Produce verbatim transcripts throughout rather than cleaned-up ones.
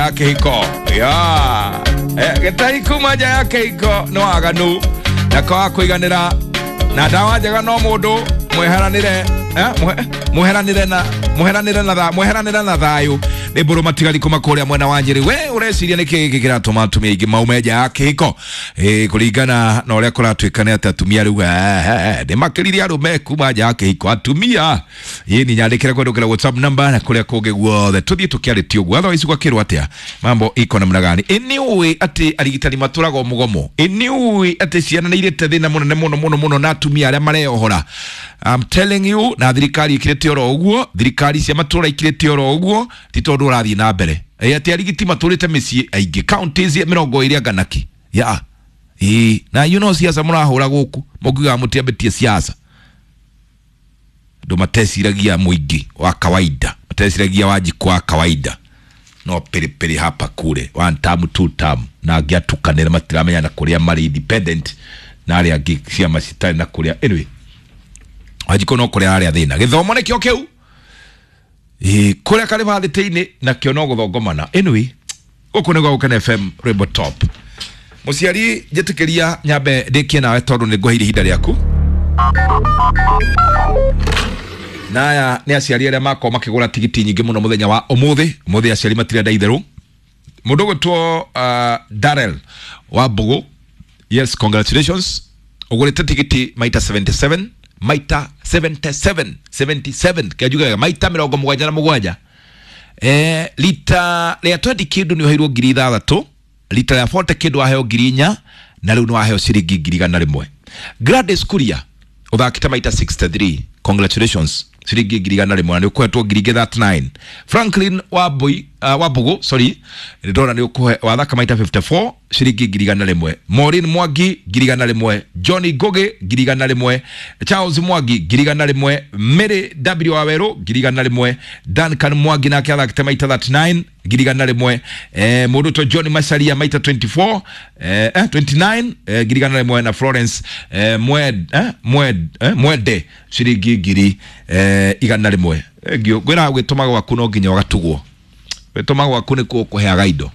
ya kĩhiko ya gĩtai kuma nja ya kĩhiko nĩ waganu na kwaga kũiganĩra na ndawa njega no mũndũ mweheranĩre mweheranĩre na mweheranĩre na mweheranĩre na thayũ nĩ mbũrũ matigari kuma kũrĩa mwena wa Nyĩrĩ. We ũreciria nĩkĩ gĩkĩ kĩratũma atumia aingĩ maume nja ya kĩhiko? Ĩ kũringana na ũrĩa kũratuĩka nĩ atĩ atumia rĩu nĩ makĩririe arũme kuma nja ya kĩhiko atumia. Ĩ ni nyandĩkĩre kũhetũkĩra WhatsApp number na kũrĩa kũngĩ guothe tũthiĩ tũkĩarĩtie ũguo. Otherwise gwakĩrwo atĩa mambo iko namna gani? Ĩ nĩ ũĩ atĩ arigitani matũraga mũgomo? Ĩ nĩ ũĩ atĩ ciana nĩ irĩte thĩna mũnene mũno mũno mũno na atumia arĩa mareyohora? I'm telling you, na thirikari ikirĩte oro ũguo, thirikari cia matũra ikirĩte oro ũguo, ti tondũ ũrathiĩ na mbere. Ĩ atĩ arigiti matũrĩte mĩciĩ aingĩ counties mĩrongo ĩrĩ anga naki ya ĩ na you know siasa mũrahũra gũkũ mũngiugaga mũtiambĩtie siasa. Andũ mateciragia mũingĩ wa kawaida, mateciragia Wanjikũ wa kawaida, no piripiri hapa kule one term two term na angĩ atukanĩre matiramenya na kũrĩa marĩ independent na arĩa angĩ ciama citarĩ na kũrĩa. Anyway, Wanjikũ no kũrĩa arĩa thĩna gĩthomo nĩkĩo kĩu ĩ kũrĩa karĩbathĩtĩ-inĩ nakĩo no gũthongomana. Anyway, gũkũ nĩ gwa Gũkena F M Rwĩmbo Top. Mũciari njĩtĩkĩria nyambe ndĩkie nawe tondũ nĩ ngũheire ihinda rĩaku. Na aya nĩ aciari arĩa makorwo makĩgũra tigiti nyingĩ mũno mũthenya wa ũmũthĩ. Ũmũthĩ aciari matirenda itherũ. Mũndũ ũgwĩtwo uh, Darrell wa Mbũgũ, yes, congratulations, ũgũrĩte tigiti maita seventy-seven maita seventy-seven seventy-seven kĩanjugaga maita mĩrongo mũgwanja na mũgwanja. Eh, lita rĩa twenty kĩndũ nĩ ũheirwo ngiri ithathatũ, lita rĩa forty kĩndũ waheo ngiri inya, na rĩu nĩ waheo ciringi ngiri igana rĩmwe. Gladys Kuria ũthakĩte maita sixty-three, congratulations, ciringi ngiri igana rĩmwe na nĩ ũkũhetwo ngiri ingĩ thirty-nine. Franklin Wambui uh, Wambugu, sorry, ndĩrona nĩ ũkũhe wathaka maita fifty-four, ciringi ngiri igana rĩmwe. Maureen Mwangi ngiri igana rĩmwe, Johnny Ngugi ngiri igana rĩmwe, Charles Mwangi ngiri igana rĩmwe, Mary W Waweru ngiri igana rĩmwe, Duncan Mwangi nake athakĩte maita thirty-nine ngiri igana rĩmwe, eh, mũndũ to John Macharia maita twenty-four eh, eh, twenty-nine eh, ngiri igana rĩmwe na Florence eh, Mwed, eh, Mwed, eh, Mwede ciringi ngiri eh, igana rĩmwe. Ngwĩra gwĩtũma gwaku no nginya ũgatugwo. Gwĩtũma gwaku nĩ kuo kũheaga indo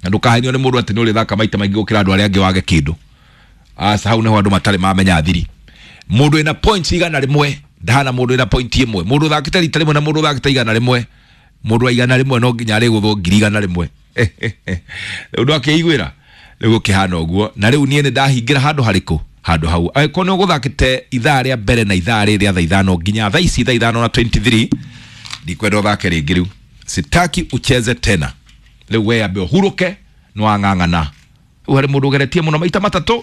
na ndũkahenio nĩ mũndũ atĩ nĩ ũrĩthaka maita maingĩ gũkĩra andũ arĩa angĩ wage kĩndũ. Aca hau nĩho andũ matarĩ mamenya thiri. Mũndũ wĩna points igana rĩmwe ndahana mũndũ wĩna point ĩmwe. Mũndũ ũthakĩte rita rĩmwe na mũndũ ũthakĩte igana rĩmwe, mũndũ wa igana rĩmwe no nginya arĩgũthwo ngiri igana rĩmwe. Rĩu ndwakĩiguĩra rĩu gũkĩhana ũguo. Na rĩu niĩ nĩ ndahingĩra handũ harĩkũ? Handũ hau. Angĩkorwo nĩ ũgũthakĩte ithaa rĩa mbere na ithaa rĩrĩ rĩa thaa ithano nginya thaa ici thaa ithano na twenty-three, ndikwenda ũthake rĩngĩ rĩu. Sitaki ucheze tena. Rĩu we ambe ũhurũke nĩ wang'ang'ana. Rĩu harĩ mũndũ ũgeretie mũno maita matatũ,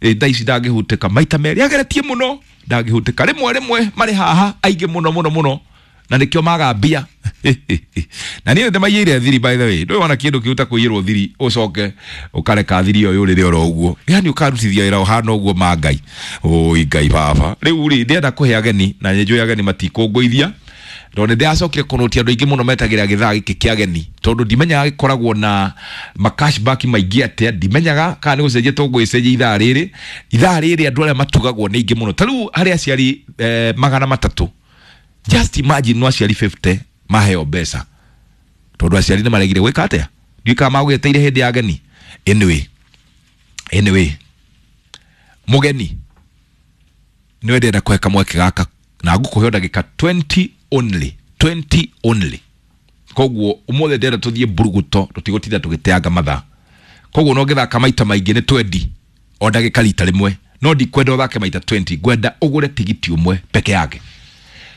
ĩ thaa ici ndangĩhutĩka, maita merĩ ageretie mũno ndangĩhutĩka, rĩmwe rĩmwe marĩ haha aingĩ mũno mũno mũno na nĩkĩo maga mbia. Na niĩ nĩndĩmaiyĩire thiri, by the way. Ndũĩ wona kĩndũ kĩu ta kũiyĩrwo thiri ũcoke ũkareka thiri ĩyo yũrĩre oro ũguo, yani ũkarutithia wĩra ũhana ũguo ma Ngai. Oi Ngai baba. Rĩu rĩ ndĩrenda kũhe ageni na nĩ njũĩ ageni matikũngũithia tondũ nĩ ndĩracokire kũnũtia andũ aingĩ mũno metagĩra gĩthaa gĩkĩ kĩa ageni tondũ ndimenyaga gĩkoragwo na ma cashback maingĩ atĩa, ndimenyaga kana nĩ gũcenjia tũgũgĩcenjia ithaa rĩrĩ. Ithaa rĩrĩ andũ arĩa matugagwo nĩ aingĩ mũno. Ta rĩu harĩ aciari eh, magana matatũ, just imagine no aciari fifty maheo mbeca tondũ aciari nĩ maregire gwĩka atĩa, ndiũĩ kana magũgĩteire hĩndĩ ya ageni. Anyway, anyway, mũgeni nĩwe ndĩrenda kũhe kamweke gaka na ngũkũhe ndagĩka twenty only, twenty only. Koguo ũmũthĩ ndĩrenda tũthiĩ mburuguto, tũtigũtinda tũgĩteanga mathaa. Koguo no ngĩthaka maita maingĩ nĩ twenty o ndagĩka rita rĩmwe, no ndikwenda ũthake maita twenty, ngwenda ũgũre tigiti ũmwe peke yake.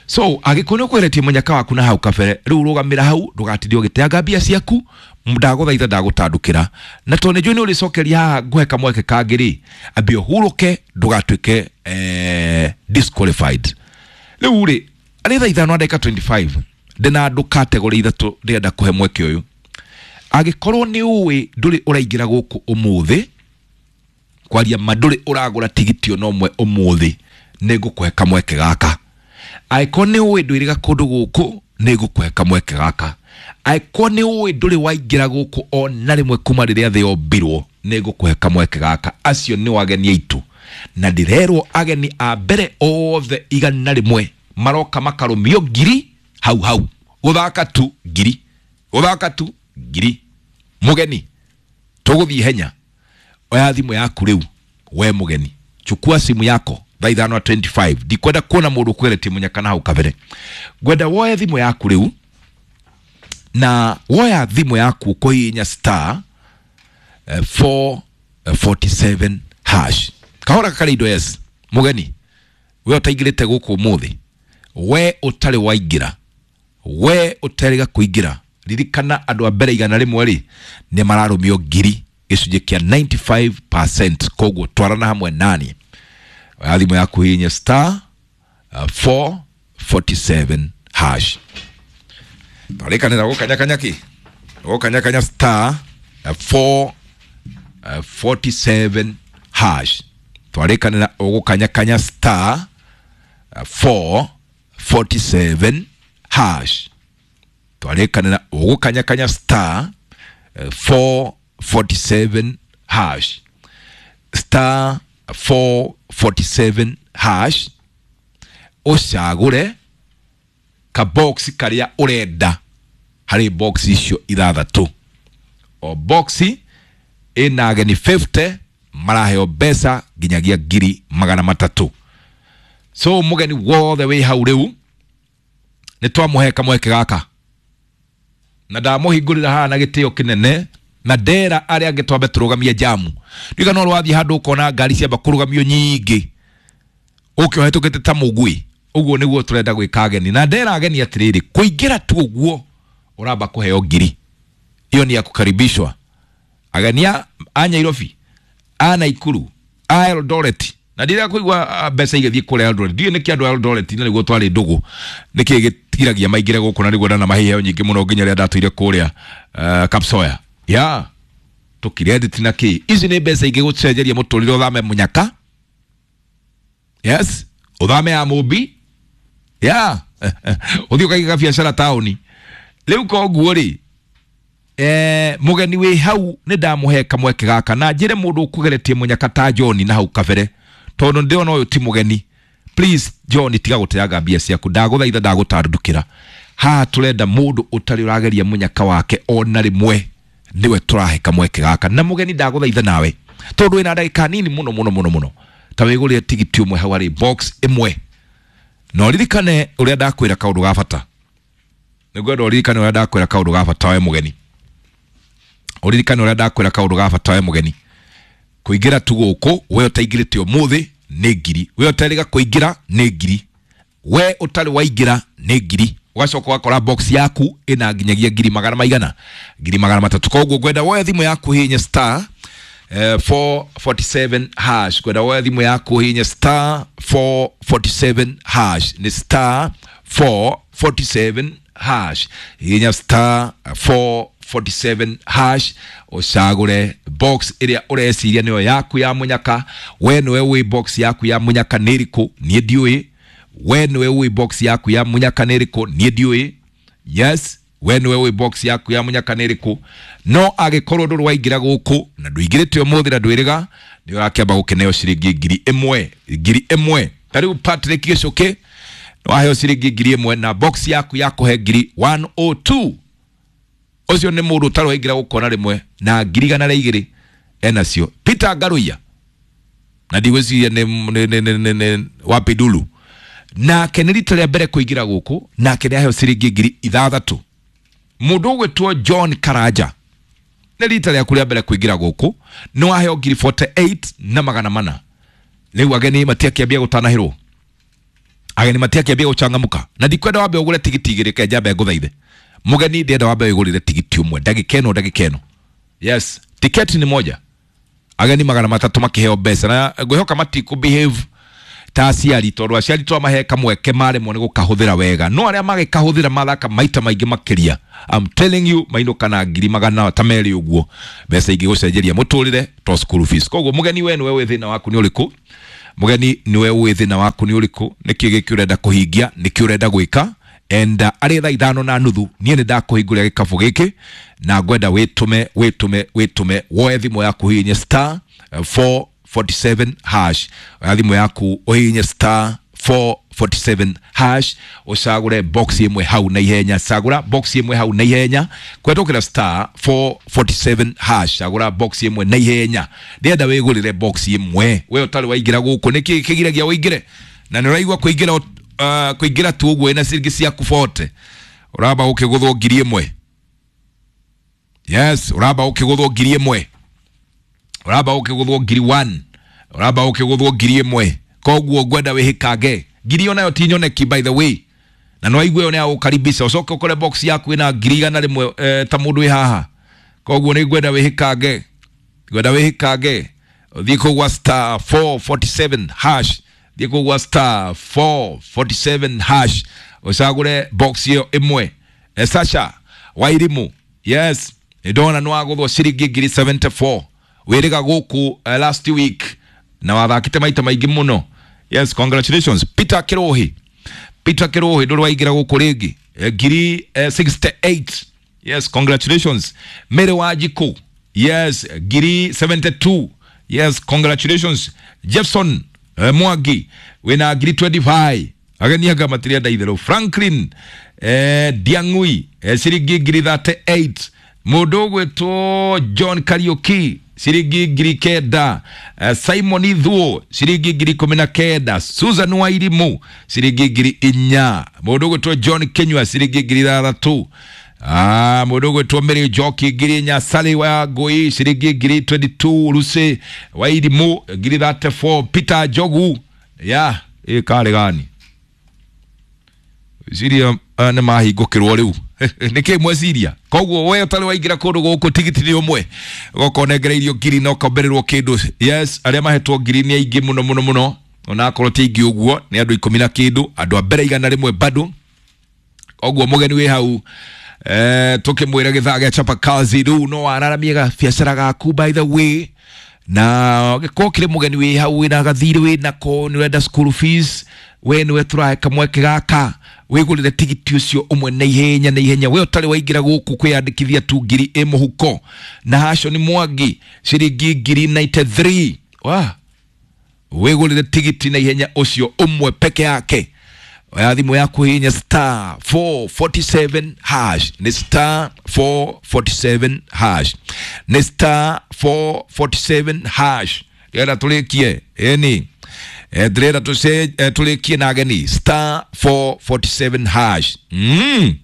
So angĩkorwo nĩ ũkweretie mũnyaka waku na hau kabere, rĩu rũgamĩra hau ndũgatinde ũgĩteanga mbia ciaku, ndagũthaitha ndagũtandũkĩra. Na tondũ nĩnjũĩ nĩ ũrĩcokeria haha ngũhe kamweke kangĩ rĩ, ambia ũhurũke ndũgatuĩke eh, disqualified. Rĩu rĩ arĩ thaa ithano na ndagĩka twenty-five ndĩna andũ category ithatũ ndĩrenda kũhe mweke ũyũ. Angĩkorwo nĩ ũĩ ndũrĩ ũraingĩra gũkũ ũmũthĩ, kwaria ma ndũrĩ ũragũra tigiti ona ũmwe ũmũthĩ, nĩ ngũkũhe kamweke gaka. Angĩkorwo nĩ ũĩ ndwĩrĩga kũndũ gũkũ, nĩ ngũkũhe kamweke gaka. Angĩkorwo nĩ ũĩ ndũrĩ waingĩra gũkũ ona rĩmwe kuma rĩrĩa thĩ yombirwo, nĩ ngũkũhe kamweke gaka. Acio nĩ ageni aitũ, na ndĩrerwo ageni a mbere othe igana rĩmwe maroka makarũmio ngiri hau hau, gũthaka tu ngiri, gũthaka tu Ngiri. Mũgeni, tũgũthiĩ henya. Oya thimũ yaku rĩu, we mũgeni. Chukua simu yako thaa ithano na twenty-five. Ndikwenda kuona mũndũ ũkweretie mũnyaka na hau kabere. Ngwenda woe thimũ yaku rĩu, na woya thimũ yaku ũkũhihinya star four forty-seven hash. Kahora karĩ indo yes. Mũgeni, we ũtaingĩrĩte gũkũ ũmũthĩ, we ũtarĩ waingĩra, we ũterĩga kũingĩra, ririkana andũ a mbere igana rĩmwe rĩ nĩ mararũmio ngiri gĩcunjĩ kĩa ninety-five percent. Koguo twarana hamwe nani. Oya thimũ yaku hihinya star four forty-seven hash. Twarĩkanĩra gũkanyakanya kĩ? Gũkanyakanya star four forty-seven hash. Twarĩkanĩra ũgũkanyakanya star four forty-seven hash. Twarĩkanĩra ũgũkanyakanya star four forty-seven hash. Star four forty-seven hash. Ũcagũre ka box karĩa ũrenda harĩ box icio ithathatũ. O box ĩna ageni fifty maraheo mbeca nginyagia ngiri magana matatũ. So mũgeni wothe wĩ hau rĩu nĩ twamũhe kamweke gaka, na ndamũhingũrĩra haha na gĩtĩo kĩnene, na ndera arĩa angĩ twambe tũrũgamie jamu. Ndiga no rwathiĩ handũ ũkona ngari ciamba kũrũgamio nyingĩ ũke ũhetũkĩte ta mũgui. Ũguo nĩguo tũrenda gwĩka ageni. Na ndera ageni atĩrĩrĩ, kũingĩra tu ũguo ũramba kũheo ngiri. Hiyo ni ya kukaribishwa. Ageni a Nairobi, a Naikuru, a Eldoret. Na ndira kũigua mbeca igĩthiĩ kũrĩa Eldoret. Ndiũĩ nĩkĩ andũ a Eldoret na nĩguo twarĩ ndũgũ, nĩkĩ gĩtigiragia maingĩre gũkũ na nĩguo ndanamaheo nyingĩ mũno nginya rĩrĩa ndatũire kũrĩa uh, Kapsoya. Ya tũkirendit na kĩ. Ici nĩ mbeca ingĩgũcenjeria mũtũrĩre ũthame mũnyaka. Yes, ũthame ya Mũmbi. Ya ũthiĩ ũkaige biacara taũni. Rĩu koguo rĩ, eh mũgeni wĩ hau nĩ ndamũhe kamweke gaka na njĩre mũndũ ũkũgeretie mũnyaka ta John na hau kabere, tondũ ndĩrona ũyũ ti mũgeni. Please John, tiga gũteanga mbia ciaku, ndagũthaitha, ndagũtandũkĩra. Haha tũrenda mũndũ ũtarĩ ũrageria mũnyaka wake ona rĩmwe, nĩwe tũrahe kamweke gaka. Na mũgeni ndagũthaitha nawe, tondũ wĩna ndagĩka nini mũno mũno mũno mũno, ta wĩgũrĩre tigiti ũmwe hau harĩ box ĩmwe. Na ũririkane ũrĩa ndakwĩra kaũndũ ga bata. Nĩngwenda ũririkane ũrĩa ndakwĩra kaũndũ ga bata we mũgeni. Ũririkane ũrĩa ndakwĩra kaũndũ ga bata we mũgeni. Kũingĩra tu gũkũ, we ũtaingĩrĩte ũmũthĩ nĩ ngiri, we ũtarĩga kũingĩra nĩ ngiri, we ũtarĩ waingĩra nĩ ngiri. Ũgacoka ũgakora box yaku ĩna nginyagia ngiri magana maigana, ngiri magana matatũ. Koguo ngwenda woe thimũ yaku hihinye star four forty-seven hash. Ngwenda woe thimũ yaku hihinye star four forty-seven hash. Nĩ star four forty-seven hash. Hihinya star four forty-seven hash ũcagũre box ĩrĩa ũreciria nĩyo yaku ya mũnyaka. We nĩwe ũĩ box yaku ya mũnyaka nĩ ĩrĩkũ, niĩ ndiũĩ. We nĩwe ũĩ box yaku ya mũnyaka nĩ ĩrĩkũ, niĩ ndiũĩ. Yes, we nĩwe ũĩ box yaku ya mũnyaka nĩ ĩrĩkũ. No angĩkorwo ndũrĩ waingĩra gũkũ na ndũingĩrĩte ũmũthĩ na ndwĩrĩga, nĩ ũrakĩamba gũkĩneo ciringi ngiri ĩmwe, ngiri ĩmwe. Ta rĩu Patrick Gĩcũkĩ nĩ waheo ciringi ngiri ĩmwe na box yaku ya kũhe ngiri one oh two. Ũcio nĩ mũndũ ũtarĩ waingĩra gũkũ ona rĩmwe na ngiri igana rĩa igĩrĩ enacio. Peter Ngaruiya na ndigwĩciria nĩ nĩ nĩ nĩ Wapidulu, nake nĩ rita rĩa mbere kũingĩra gũkũ, nake nĩ aheo ciringi ngiri ithathatũ. Mũndũ ũgwĩtwo John Karanja nĩ rita rĩaku rĩa mbere kũingĩra gũkũ, nĩ waheo ngiri forty-eight na magana mana. Rĩu ageni matiakĩambia gũtanahĩrwo, ageni matiakĩambia gũcangamũka. Na ndikwenda wambe ũgũre tigiti igĩrĩ, ke njambe ngũthaithe. Mũgeni ndĩrenda wambe wĩgũrĩre tigiti ũmwe, ndagĩka ĩno, ndagĩka ĩno. Yes, tiketi ni moja. Ageni magana matatũ makĩheo mbeca, na ngwĩhoka matikũ behave ta aciari, tondũ aciari twamahe kamweke maremwo nĩ gũkahũthĩra wega. No arĩa magĩkahũthĩra mathaka maita maingĩ makĩria, I'm telling you, mainũka na ngiri magana ta merĩ ũguo, mbeca ingĩgũcenjeria mũtũrĩre to school fees. Koguo mũgeni we nĩwe wĩ thĩna waku nĩ ũrĩkũ? Mũgeni nĩwe ũĩ thĩna waku nĩ ũrĩkũ? Nĩkĩ gĩkĩ ũrenda kũhingia? Nĩkĩ ũrenda gwĩka? And arĩ thaa ithano na nuthu niĩ nĩ ndakũhingũrĩra gĩkabũ gĩkĩ, na ngwenda wĩtũme, wĩtũme, wĩtũme, woe thimũ yaku hihinye star four forty-seven hash. Oya thimũ yaku ũhihinye star four forty-seven hash ucagure box imwe hau na ihenya. Cagura box imwe hau na ihenya kwetũkĩra star four forty-seven hash. Cagura box imwe na ihenya, ndĩrenda wĩgũrĩre box imwe. We ũtarĩ waingĩra gũkũ nĩkĩ kĩgiragia ũingĩre? Na nĩ ũraigua kũingĩra uh, kũingĩra tu ũguo ĩna ciringi ciaku forty ũramba ũkĩgũthwo ngiri ĩmwe. Yes, ũramba ũkĩgũthwo ngiri ĩmwe, ũramba ũkĩgũthwo ngiri one, ũramba ũkĩgũthwo ngiri ĩmwe. Koguo ngwenda wĩhĩkange ngiri onayo ti nyoneki by the way, na no aigue one agũkaribisha ũcoke ũkore box yaku ĩna ngiri igana rĩmwe eh, ta mũndũ wĩ haha. Koguo nĩ ngwenda wĩhĩkange, ngwenda wĩhĩkange ũthiĩ kũu gwa star four forty-seven hash, thiĩ kũu gwa star four forty-seven hash ũcagũre box ĩyo ĩmwe. Eh, Sasha Wairimu, yes, ndona nĩ wagũthwo ciringi ngiri seventy-four wĩrĩga gũkũ uh, last week na wathakĩte maita maingĩ mũno. Yes, congratulations. Peter Kirohi, Peter Kirohi ndũrĩ waingĩra gũkũ rĩngĩ, ngiri eh, sixty-eight. Yes, congratulations. Mary Wanjikũ, yes, ngiri seventy-two. Yes, congratulations. Jefferson eh, Mwangi wĩna ngiri twenty-five. Ageni anga matirenda itherũ. Franklin eh, Diang'ui eh, ciringi ngiri thirty-eight. Mũndũ ũgwĩtwo John Kariuki ciringi ngiri kenda. uh, Simon Ithuo ciringi ngiri ikũmi na kenda. Susan Wairimu ciringi ngiri inya. Mũndũ ũgwĩtwo John Kinyua ciringi ngiri ithathatũ. Ah, mũndũ ũgwĩtwo Mary Njoki ngiri inya. Sally wa Ngui ciringi ngiri twenty-two. Lucy Wairimu ngiri thirty-four. Peter Njogu ya ĩ karĩ gani ciria uh, nĩ mahingũkĩrwo rĩu nĩkĩ mweciria. Koguo we ũtarĩ waingĩra kũndũ gũkũ tigiti nĩ ũmwe ũgoka ũnengereirio ngiri na ũkombererwo kĩndũ. Yes, arĩa mahetwo ngiri nĩ aingĩ mũno mũno mũno, onakorwo ti aingĩ ũguo nĩ andũ ikũmi na kĩndũ, andũ a mbere igana rĩmwe bado. Koguo mũgeni wĩ hau eh, tũkĩmwĩra gĩthaa gĩa chapa kazi rĩu no wararamie gabiacara gaku by the way, na gĩkorwo kĩrĩ mũgeni wĩ hau wĩna gathirĩ wĩnako nĩ ũrenda school fees, we nĩwe tũrahe kamweke gaka wĩgũrĩre tigiti ũcio ũmwe na ihenya na ihenya. We ũtarĩ waingĩra gũkũ kwĩyandĩkithia tu ngiri ĩ mũhuko. Na Hashon Mwangi ciringi ngiri ninety-three. Wa wĩgũrĩre tigiti na ihenya ũcio ũmwe peke yake. Oya thimũ yaku hihinya star four forty-seven hash, nĩ star four forty-seven hash, nĩ star four forty-seven hash. Ndĩrenda tũrĩkie ĩni ndĩrenda tũrĩkie na ageni star four forty-seven hash. Mm.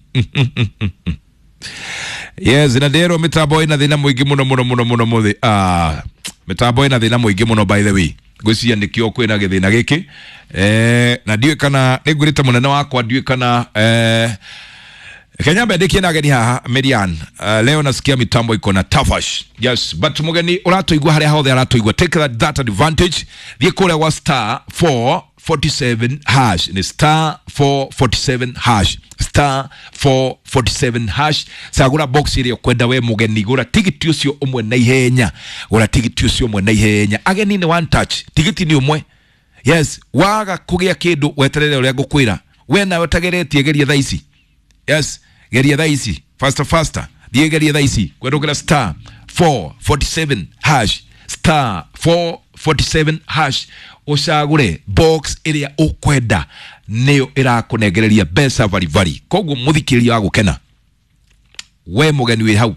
Yes, na ndĩrerwo mĩtambo ĩna thĩna mũingĩ mũno mũno mũno mũno mũthĩ. Ah, mĩtambo ĩna thĩna mũingĩ mũno by the way. Ngwĩciria nĩkĩo kwĩna gĩthĩna gĩkĩ eh, na ndiũĩ kana nĩ ngwĩrĩte mũnene wakwa ndiũĩ kana eh, Kenya mbendĩkie na ageni haha Merian. Uh, leo nasikia mitambo iko na tafash. Yes, but mugeni ũratũigua harĩa hothe aratũigua, take that, that advantage. Thiĩ kũrĩa gwa star four forty-seven hash, ni star four forty-seven hash, star four forty-seven hash. Cagũra box ĩrĩa ũkwenda we mũgeni, gũra tigiti ũcio ũmwe na ihenya, gũra tigiti ũcio ũmwe na ihenya. Ageni nĩ one touch, tigiti nĩ ũmwe. Yes, waga kũgĩa kĩndũ weterere ũrĩa ngũkwĩra. We nawe ũtageretie geria thaa ici. Yes, geria thaa ici faster faster, thiĩ geria thaa ici kwendũkĩra star four forty-seven hash, star four forty-seven hash ũcagũre box ĩrĩa ũkwenda, nĩyo ĩrakũnengereria mbeca baribari. Koguo mũthikĩrĩria wa gũkena, we mũgeni wĩ hau,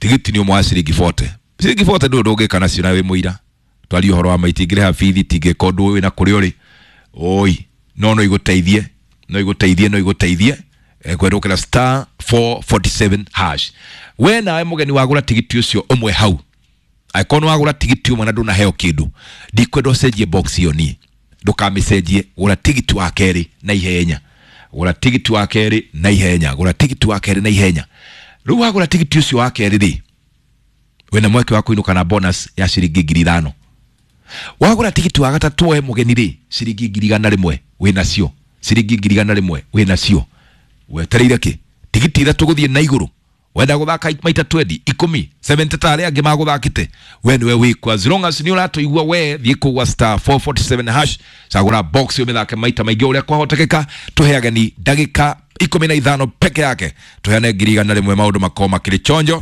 tigiti nĩ ũmwe wa ciringi forty. Ciringi forty ndũĩ ndũngĩka nacio na wĩ mũira. Twarie ũhoro wa ma, itingĩrĩha bithi, itingĩka ũndũ wĩna kũrĩa ũrĩ. Oi, no no igũteithie, no igũteithie, no igũteithie kwendũkĩra star four forty-seven hash. We nawe mũgeni wagũra tigiti ũcio ũmwe hau, angĩkorwo nĩ wagũra tigiti ũmwe na ndũnaheo kĩndũ, ndikwenda ũcenjie box ĩyo niĩ, ndũkamĩcenjie. Gũra tigiti wa kerĩ na ihenya, gũra tigiti wa kerĩ na ihenya, gũra tigiti wa kerĩ na ihenya. Rĩu wagũra tigiti ũcio wa kerĩ rĩ, wĩna mweke wa kũinũka na bonus ya ciringi ngiri ithano. Wagũra tigiti wa gatatũ we mũgeni rĩ, ciringi ngiri igana rĩmwe wĩnacio, ciringi ngiri igana rĩmwe wĩnacio. Wetereire kĩ? Tigiti ithatũ gũthiĩ na igũrũ. Wenda gũthaka maita twenty, ikũmi, seventy ta arĩa angĩ magũthakĩte, we nĩwe wĩkũ. As long as nĩ ũratũigua we, thiĩ kũu gwa star four forty-seven hash, cagũra box ũmĩthake maita maingĩ ũrĩa kwahotekeka. Tũhe ageni ndagĩka ikũmi na ithano peke yake, tũheane ngiri igana rĩmwe, maũndũ makorwo makĩrĩ chonjo.